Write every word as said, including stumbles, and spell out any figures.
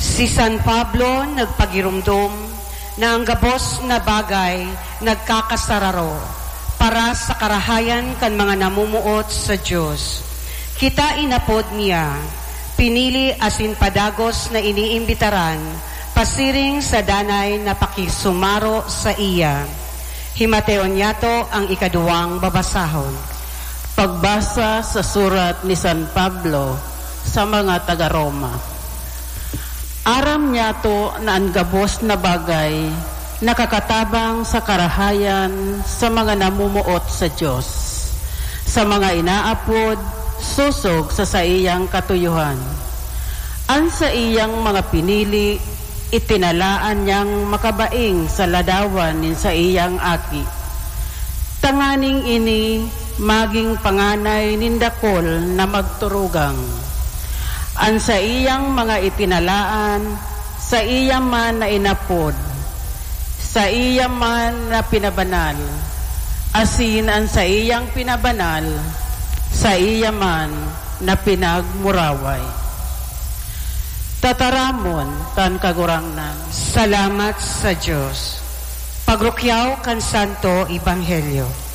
Si San Pablo nagpagiromdom na ang gabos na bagay nagkakasararo para sa karahayan kan mga namumuot sa Dios. Kita inapod niya, pinili asin padagos na iniimbitaran pasiring sa danay na pakisumaro saiya. Himateon niyato ang ikaduwang babasahon. Pagbasa sa surat ni San Pablo sa mga taga-Roma. Aram niyato na an gabos na bagay nakakatabang sa karahayan sa mga namumuot sa Dios, sa mga inaapod sosog sa saiyang katuyohan. An saiyang mga pinili itinalaan niyang makabaing sa ladawan nin saiyang Aki, tanganing ini magin panganay nin dakul na magturugang. An saiyang mga itinalaan, saiya man na inapod, saiya man na pinabanal, asin an saiyang pinabanal, saiya man na pinagmuraway. Tataramon kan Kagurangnan. Salamat sa Dios. Pagrukyaw kan Santo Ebanghelyo.